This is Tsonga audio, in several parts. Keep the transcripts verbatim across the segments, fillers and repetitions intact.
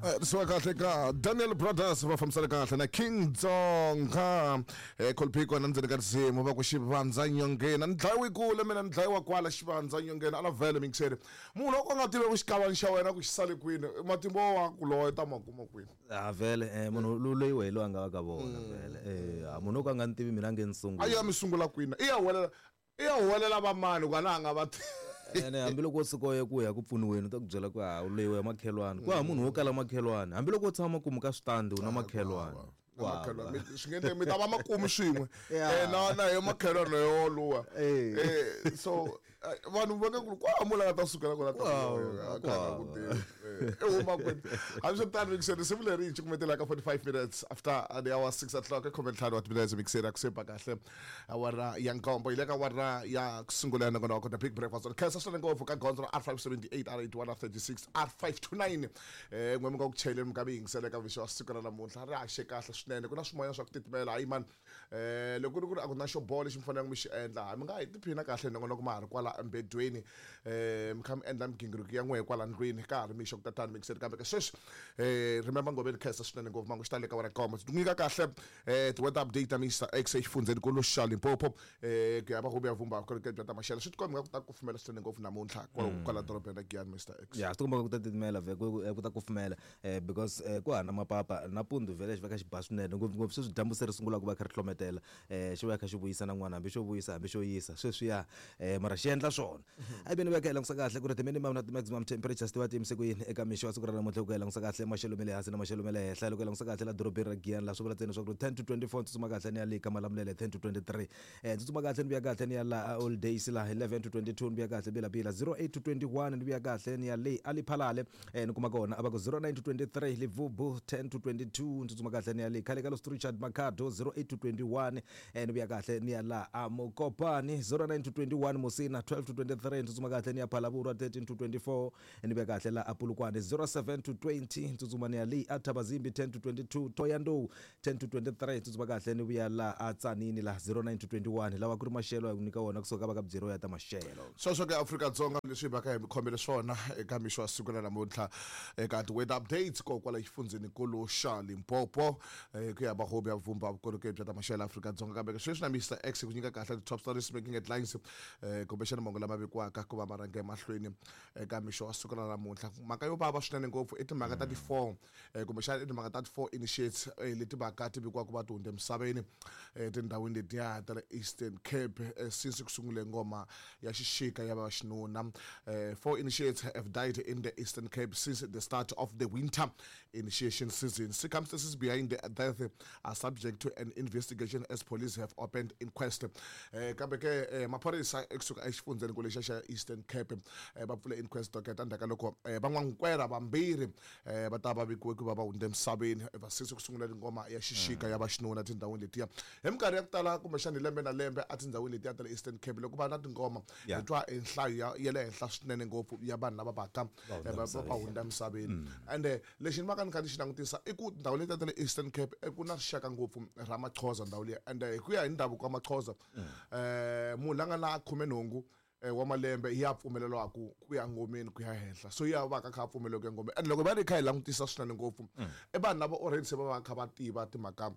Risiwa kahle ka Daniel Brothers va fambisana kahle na King Dzonga eh Kolphiko na ndzeni ka risimu va ku xivandza nyongeni ni dlayiwi kule mina ni dlayiwa kwala xivandza nyongeni a na vhele mixere munhu loko a nga tivi ku xikavani xa wena ku xi sale kwini matimba wa ku lowa ta ma kuma kwini a vhele eh munhu loyi wehe loyi a nga va ka vona vhele eh a munhu o ka nga ni tivi mina nge ni sungula a ya mi sungula kwini i ya huwelela i ya huwelela vamani ku a na a nga va tivi ene hambiloko wo tshuka u ya ku ya ku pfuniweni u ta ku byela ku ha u leyiwa hi makhelwani ku hava munhu wo kala makhelwani hambiloko wo tshama makumu ka switandi u na makhelwani makhelwani swi nge endleki mi ta va makumu swin'we eh na na hi makhelwani yo luwa eh so vanhu va nge ku kwala munhu a nga ta sukela kona ta ku tivi i huma kwini hambiswiritano mixeri risimu leri hi cukumetela ka forty-five minutes after the hour six o'clock khume ntlhanu wa timinetse mixeri a ku sepa kahle awara ya nkombo yi le ka awara ya ku sungula ya nongonoko the big breakfast khensa swinene ngopfu ka gondzo ra R five seventy-eight R eighty-one R thirty-six R five two nine eh n'we mi nga ku chayeleni mi nga mi yingisela eka mixo wa siku ra namuntlha ri haxe kahle swinene ku na swimoya swa ku titimela hayi mani eh loko ku ri ku ri a ku na xo boha lexi mi faneleke mi xi endla hayi mi nga hi tiphina kahle nongonoko ma ha ri kwala embedweni eh mi kha mi endla migingiriko ya n'wehe kwala ndlwini ka ha ri mixo ku tatani mixeri kambe ke sweswi eh remember Ngoveni khensa swinene ngopfu mangu xi ta le ka wena koma ti nyika kahle eh ti-weather update ta Mister X exifundzeni nkulu xa Limpopo eh ku ya va ku ya vumba vukorhokeri bya ta maxelo swi tikomba ku ta kufumela swinene ngopfu namuntlha kwala kwala dorobeni ra Giyani Mister X ya swi tikomba ku ta titimela vhe ku ku ta kufumela eh because eh ku hana mapapa nampundzu vhele xi va kha xi ba swinene ngopfungopfu sweswi dyambu se ri sungula ku va kha ri hlometela eh xi va kha xi vuyisa na n'wana hambi xo vuyisa hambi xo yisa sweswiya eh mara xi endla swona a yi veni va kha hi langutisa kahle ku ri ti-minimum na ti-maximum temperatures ti va ti yimise ku yini eka mixo wa siku ra namuntlha ku hi langutisa kahle maxelo ma le hansi na maxelo ma le henhla loko hi langutisa kahle la dorobeni ra Giyani laha swi vula ntsena leswaku ten to twenty-four tsutsuma kahle ni ya le ka Malamulele ten to twenty-three eh tsutsuma kahle ni vuya kahle ni ya la All Days la eleven to twenty-two ni vuya kahle Bilabila zero eight to twenty-one ni vuya kahle ni ya le Aliphalale eh ni kuma kona a va ku zero nine to twenty-three Livubu ten to twenty-two ni tsutsuma kahle ni ya le khale ka Los Richard Makhado zero eight to twenty-one eh ni vuya kahle ni ya la Amokopani zero nine to twenty-one Musina twelve to twenty-three ni tsutsuma kahle ni ya Phalaborwa thirteen to twenty-four ni vuya kahle la Apulukwane zero seven to twenty ni tsutsuma ni ya le Athabazimbi ten to twenty-two Thohoyandou ten to twenty-three ni tsutsuma kahle ni vuya la Atsanini la zero nine to twenty-one lawa ku ri maxelo ya ku nyika wona kusuka ka va ka byeriwa ya ta maxelo sweswo ke Afrika-Dzonga leswi hi va ka hi mi khomele swona eka mixo wa siku ra namuntlha eka ti-weather updates ko kwala xifundzhenikulu xa Limpopo eh ku ya va hobi ya vumba vukorhokeri bya ta maxelo Afrika-Dzonga kambe ke sweswi na Mister X ku nyika kahle ti-top stories making headlines eh kumbexana mahungu lama vekiwaka ku va ma rhanga emahlweni eka mixo wa siku ra namuntlha mhaka yo vava swinene ngopfu i timhaka ta ti-four eh kumbexana i timhaka ta ti-four initiates eh leti vaka ti vekiwaka va ti hundza emisaveni etindhawini letiya ta le Eastern Cape eh, since ku sungule ngoma ya xixika ya vaxinuna eh four initiates have died in the Eastern Cape since the start of the winter initiation season. Circumstances behind the death are subject to an investigation as police have opened inquest. Eh kambe ke eh, maphorisa ekusuka exifundzeni ku lexa xa Eastern Cape eh, va pfule inquest docket endzhaku ka loko eh, van'wankwera vambirhi eh, va ta va vikiwe ku va va hundze emisaveni va since ku sungula ngoma ya xixika ya vaxinuna tindhawini letiya hi minkarhi ya ku tala kumbexana hi lembe na lembe etindhawini letiya ta le Eastern Cape loko va na tingoma Yeah. hi twa e nhlayo ya ya le henhla swinene ngopfu ya vanhu lava vaka Va hundza eh, va emisaveni. va hundza emisaveni ende lexi ni va ka ni kha ni xi langutisa i ku ndhawu letiya ta le Eastern Cape i ku na rixaka ngopfu ra Maxhosa ndhawu liya ende hi ku ya hi ndhavuko wa Maxhosa eh munhu la nga na khumenhungu eh, wa malembe ya pfumeleriwa ku ku ya ngomeni ku ya henhla so ya va ka kha a pfumeleriwa ku ya ngomeni and loko va ri kha hi langutisa swinene ngopfu i vanhu lava already se va va kha va tiva timhaka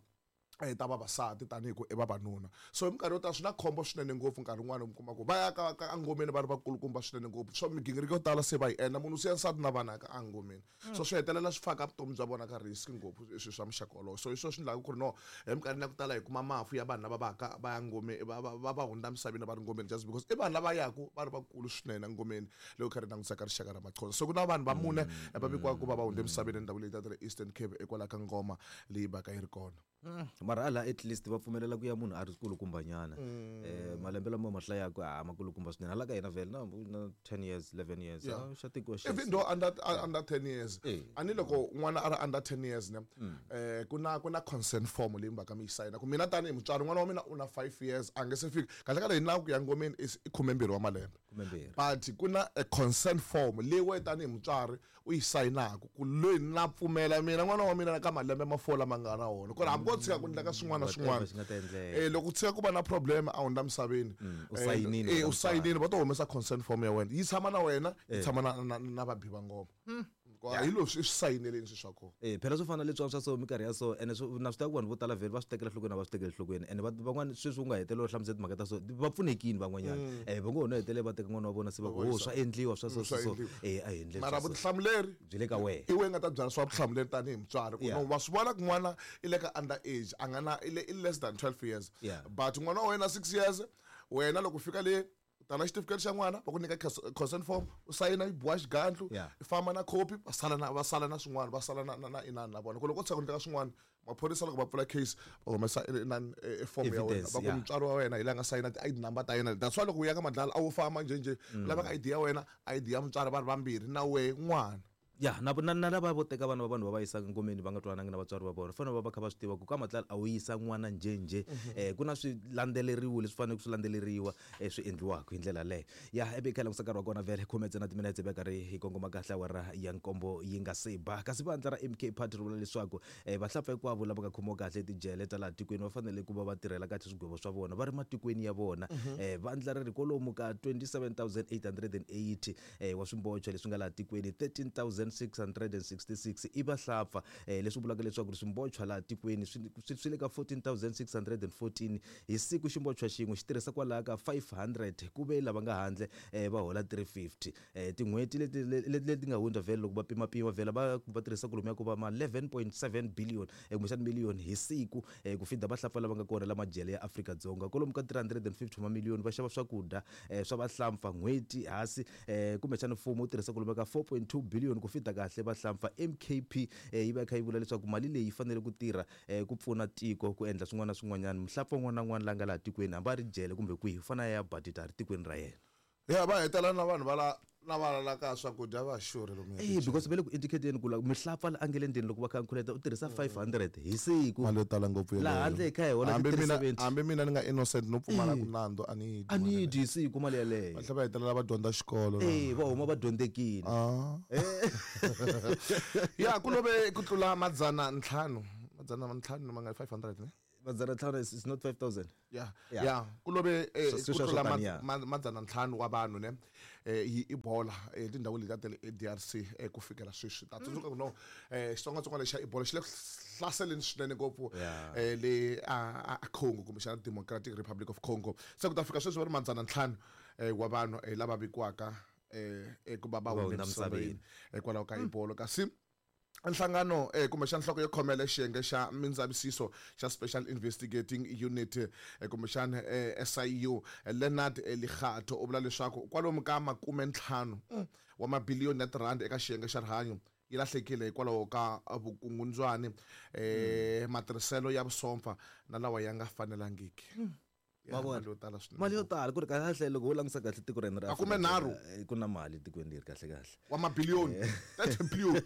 eh, ta vavasati tanihi ku i vavanuna so hi minkarhi yo tala swi na khombo swinene ngopfu nkarhi wun'wani mi kuma ku va ya ka ka engomeni va ri vakulukumba swinene ngopfu so migingiriko yo tala se va yi endla munhu u siya nsati na vana ka engomeni so swi hetelela swi faka vutomi bya vona ka risk ngopfu swilo swa muxaka wolowo so hi swona swi endlaka ku ri no hi minkarhini ya ku tala hi kuma mafu ya vanhu lava vaka va ya ngomeni va va va va hundza emisaveni va ri ngomeni just because i vanhu lava yaku va ri vakulu swinene engomeni loko kha ri langutisa ka rixaka ra Maxhosa so ku na vanhu va mune va vikiwaka ku va va hundze emisaveni endhawini leyi ta le Eastern Cape hikwalaho ka ngoma leyi va ka yi ri kona mara ala at least va pfumelela ku ya munhu a ri kulukumbanyana eh malembe lama ma hlayaka a makulukumba swinene hala ka hina vhele na na ten years eleven years Yeah. ah, xa tikiwa xa even though under uh, under ten years Eh. ani loko n'wana a ri under ten years ne eh ku na ku na consent form leyi mi va ka mi yi sayina ku mina tanihi mutswari n'wana wa mina u na five years a nge se fika kahle kahle hi nawu ku ya ngomeni is i khumembirhi wa malembe Khumembirhi. but ku na a consent form leyi wena tanihi mutswari u yi sayinaka ku loyi na pfumela mina n'wana wa mina ka malembe ma four lama nga na wona ku ri hambi ko tshika ku endleka swin'wana na Whatever swin'wana xi nga ta endleka. eh loko ku tshika ku va na problem a hundza misaveni u sayinile eh wena u sayinile va to humesa consent form ya wena yi tshama na wena yi tshama na na, na vabi va ngoma Hi leswi i swi sayineleni swilo swa kona. Eh phela swo fana na leswiwani swa so minkarhi ya so ene na swi tiva ku vanhu vo tala vhele va swi tekela enhlokweni a va swi tekeli enhlokweni ene van'wani sweswi u nga hetelela u hlamusela timhaka ta so va pfunekile van'wanyana eh va ngo ho no hetelela va teka n'wana wa vona se va ku ho swa endliwa swa so so eh a hi endleni mara vutihlamuleri byi le ka wena i wena nga ta byala swa vutihlamuleri tanihi mutswari ku no wa swi vona ku n'wana i le ka under age a nga na i le i less than twelve years but n'wana wa wena six years wena loko fika le tana xitifiketi xa n'wana va ku nyika consent form u sayina yi boha xigandlu i famba na copy va sala na va sala na swin'wana va sala na na na inani na vona ku loko u tshika ku nyika swin'wana maphorisa loko va pfula case va humesa inani e form ya wena va ku mutswari wa wena hi la nga sayina ti I D number ta yena that's why loko u ya ka madlala a wu famba njhenjhe u laveka I D ya wena I D ya mutswari va ri vambirhi na wehe n'wana. Ya na na na lava vo teka vana va vanhu va va yisaka ngomeni va nga twanangi na vatswari va vona fanele va va kha va swi tiva ku ka matlala a wu yisa n'wana njhenjhe eh ku na swi landzeleriwa leswi faneleke swi landzeleriwa swi endliwaka hi ndlela leyo. Ya ebe kha langusa nkarhi wa kona vhele khume ntsena timinetse va karhi hi kongoma kahle awara ya nkombo yi nga se ba kasi vandla ra M K Party ri vula leswaku vahlapfa hinkwavo lava nga khomiwa kahle etijele ta laha tikweni va fanele ku va va tirhela kahle swigwevo swa vona va ri matikweni ya vona. Vandla ri ri kwalomu ka twenty-seven thousand eight hundred and eighty wa swimbocho leswi nga laha tikweni thirteen thousand six hundred and sixty-six i vahlapfa leswi vulaka leswaku swimbochwa laha tikweni swi le ka fourteen thousand six hundred and fourteen hi siku ximbochwa xin'we xi tirhisa kwalaha ka five hundred ku ve lava nga handle va hola three fifty tin'hweti leti leti nga hundza vhele loko va pimapima vhele va va tirhisa kolomu ya ku va ma eleven point seven billion kumbexana million hi siku ku fida vahlapfa lava nga kona la majele ya Afrika-Dzonga kwalomu ka three hundred and fifty wa mamiliyoni va xava swakudya swa vahlampfa n'hweti hansi kumbexana mfumo wu tirhisa kwalomu ka four point two billion ku fida kahle vahlampfa. M K P yi va kha yi vula leswaku mali leyi fanele ku tirha ku pfuna tiko ku endla swin'wana na swin'wanyana muhlapfa un'wana na un'wana la nga laha tikweni hambi a ri jele kumbe kwihi u fanele a ya badita ri tikweni ra yena. Ya va hetela na vanhu va la na va la ka swakudya va xurhe lomu eh because vele ku indicate ku la mihlapfa la angele ndeni loko va kha nkhuleta u tirhisa five hundred hi siku mali yo tala ngopfu yeleyo la handle kha hi hola hambi mina hambi mina ni nga innocent no pfumala ku nandzu a ni a ni dyi siku mali yeleyo va tlhela va hetelela va dyondza xikolo eh va huma va dyondzekile ah ya ku love ku tlula madzana ntlhanu madzana ntlhanu ma nga five hundred ne madzana ntlhanu is not five thousand yeah yeah ku love ku tlula madzana ntlhanu wa vanhu ne hi Ebola etindhawini leti ta le D R C ku fikela sweswi ta tsundzuka ku no xitsongwatsongwana xa Ebola xi le ku hlaseleni swinene ngopfu le a Congo kumbexana Democratic Republic of Congo se ku ta fika sweswi va ri madzana ntlhanu wa vanhu lava vikiwaka ku va va hundze emisaveni hikwalaho ka Ebola kasi nhlangano eh kumbexana nhloko yo khomela xiyenge xa mindzavisiso xa Special Investigating Unit kumbexana S I U Leonard Likgatho u vula leswaku kwalomu ka makume ntlhanu wa mabiliyoni ya tirhandi eka xiyenge xa rihanyo yi lahlekile hikwalaho ka vukungundzwani eh matirhiselo ya vusompfa na lawa ya nga fanelangiki. Mali yo tala swinene mali yo tala ku ri kahle loko u langutisa kahle tiko ra hina ra makume nharhu ku na mali tikweni leri kahle kahle wa mabiliyoni thirty billion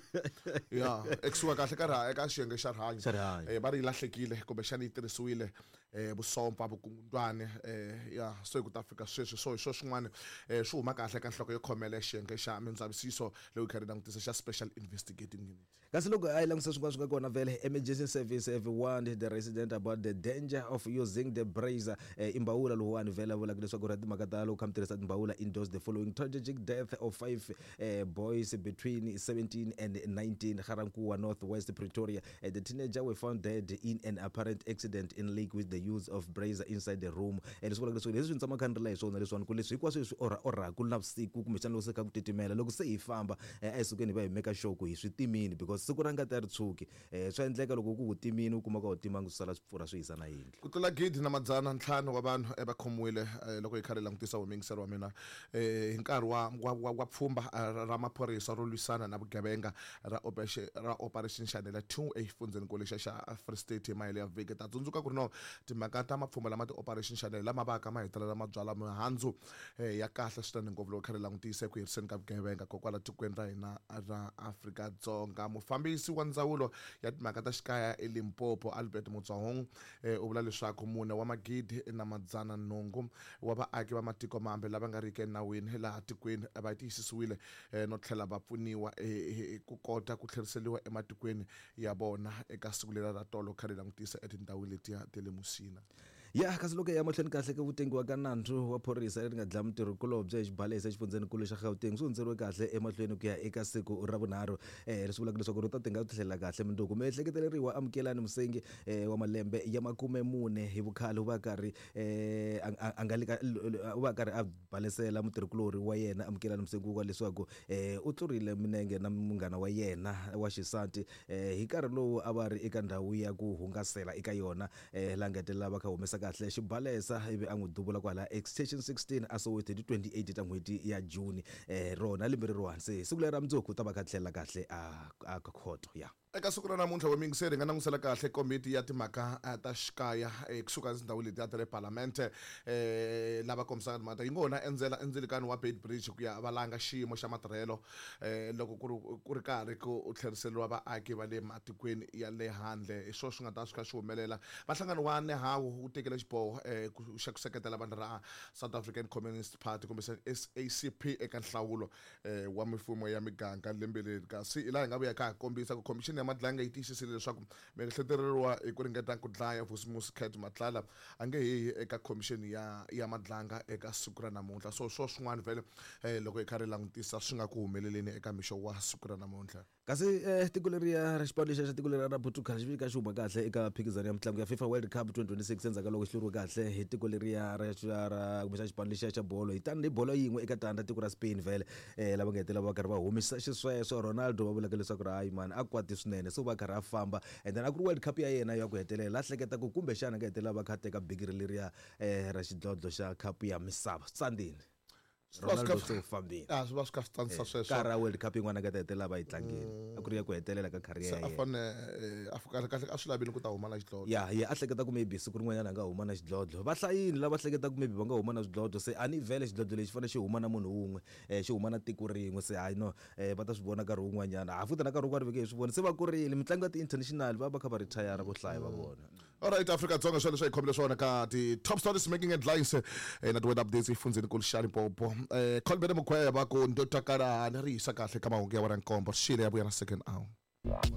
ya ekusuka kahle ka eka xiyenge xa rihanyo eh va ri yi lahlekile kumbexana yi tirhisiwile eh vusompfa vukungundzwani eh ya so ku ta fika sweswi so hi swo swin'wana eh swi huma kahle ka nhloko yo khomela xiyenge xa mindzavisiso leyi kha ri langutisa xa Special Investigating Unit. Kasi loko a yi langutisa swin'wana swi nga kona vhele emergency service have warned the resident about the danger of using the brazier imbawula lowuwani vhele vulaka leswaku ri timhaka ta loko kha mi tirhisa timbawula indoors the following tragic death of five uh, boys between seventeen and nineteen Garankuwa Northwest Pretoria. Uh, the teenager were found dead in an apparent accident in lake with the use of brazier inside the room. Leswi vulaka leswaku leswi ni tshama kha ni ri la hi swona leswiwani ku leswi hinkwaswo leswi orha orhaku navusiku kumbexana loko se kha ku titimela loko se hi famba a hi sukeni hi va hi make sure ku hi swi timini because siku ra ngati a ri tshuki swa endleka loko ku ku timini u kuma ka u timangi swi sala swi pfurha swi hisa na yindlu. Ku tlula gidi na madzana ntlhanu wa vanhu va khomiwile loko hi kha ri langutisa wumiyingiselo wa mina hi nkarhi wa wa wa pfhumba ra maphorisa ro lwisana na vugevenga ra operation ra Operation Shanela two exifundzhenikulu xa xa Free State hi mahelo ya vhiki. Ta tsundzuka ku ri no timhaka ta mapfhumba lama ti-Operation Shanela lama vaka ma hetelela ma byala mihandzu ya kahle swinene ngopfu loko kha ri langutisa eku heriseni ka vugevenga kokwala tikweni ra hina ra Afrika-Dzonga. Mufambisi wa ndzawulo ya timhaka ta xikaya eLimpopo Albert Motsahong u vula leswaku mune wa magidi na madzana nhungu wa vaaki va matiko mambe lava nga riki enawini laha tikweni va tiyisisiwile no tlhela va pfuniwa ku kota ku tlheriseriwa ematikweni ya vona eka siku leri ra tolo kha ri langutisa etindhawini letiya ta le Musina. Ya kasi loko hi ya mahlweni kahle ka ku tengiwa ka nandzu wa phorisa leri nga dlaya mutirhikulobye exibalesa exifundzhenikulu xa Gauteng swi hundzeriwe kahle emahlweni ku ya eka siku ra vunharhu um leswi vulaka leswaku ri ta tinga tlhela kahle mundzuku. Miehleketeleriwa Amukelani Musengi um wa malembe ya makume mune hi vukhale u va karhi um a nga le ka u va karhi a balesela mutirhikulori wa yena Amukelani Musengi wa leswaku um u tlurile minenge na munghana wa yena wa xisati um hi nkarhi lowu a va ri eka ndhawu ya ku hungasela eka yona um laha nga hetelela va kha humesa kahle xibalesa ivi a n'wi duvula kwala extension sixteen a Soweto hi ti twenty-eight ta n'hweti ya June um rona lembe reriwani. Se siku leri ra mundzuku u ta va kha tlhela kahle a a khoto ya. Eka siku ra namuntlha wa miyingiseri hi nga langutisela kahle komiti ya timhaka ta xikaya kusuka etindhawini letiya ta le palamende um lava kombisaka timhaka yi ngo na endzela endzilikani wa Beitbridge ku ya valanga xiyimo xa matirhelo um loko ku ri ku ri karhi ku tlheriseriwa vaaki va le matikweni ya le handle. Hi swona swi nga ta swi kha swi humelela. Vahlangano wa Nehawu wu tekele xiboho um xa ku seketela vandla ra South African Communist Party kumbe S A C P eka nhlawulo um wa mifumo ya miganga lembe leri. Kasi hi laha hi nga vuya ka ha kombisa ku khomixini ya Madlanga yi tiyisisile leswaku miehleketeleriwa hi ku ringeta ku dlaya Vusimusi Cat Matlala a nge he eka khomixini ya ya Madlanga eka siku ra namuntlha. So swo swin'wana vhele um loko hi kha ri langutisa swi nga ku humeleleni eka mixo wa siku ra namuntlha. Kasi eh tiko leriya ra xipano lexiya xa tiko leriya ra Portugal xi fika xi huma kahle eka mphikizano ya mitlangu ya FIFA World Cup twenty twenty-six endzhaku ka loko xi hluriwe kahle hi tiko leriya ra ra kumbe xa xipano lexiya xa bolo hi tani hi bolo yin'we eka tandza tiko ra Spain vhele eh lava nga hetelela va karhi va humisa xisweswo. Ronaldo va vulaka leswaku hayi mani a kwati swinene so va karhi a famba and then a ku ri World Cup ya yena ya ku hetelela a hleketa ku kumbexana nga hetelela va kha teka bigiri leriya eh ra xidlodlo xa cup ya misava tsandini. Ronaldo se u fambile. Ah, swi va swi kha swi tsanisa sweswo. Ka ra World Cup yin'wana ka ta hetelela va yi tlangile. A ku ri ya ku hetelela ka career ya yena. A fane a kahle kahle a swi lavile ku ta huma na xidlodlo. Ya, ya a hleketa ku maybe siku rin'wanyana a nga huma na xidlodlo. Va hlayini lava hleketa ku maybe va nga huma na xidlodlo se a ni vhele xidlodlo lexi fanele xi huma na munhu wun'we, eh xi huma na tiko rin'we se hayi no eh va ta swi vona nkarhi wun'wanyana. Ha futhi na nkarhi wun'wana veke hi swi vona se va kurile mitlangu ya ti-international va va kha va retire vo hlaya va vona. All right, Afrika Dzonga swilo leswi hi khomile swona ka ti top stories making headlines eh na ti weather updates efundzeni kulu xa Limpopo. Eh Colbert Mukweva ku ndo takala ni ri yisa kahle ka mahungu ya wena nkombo xile ya vuya na second hour.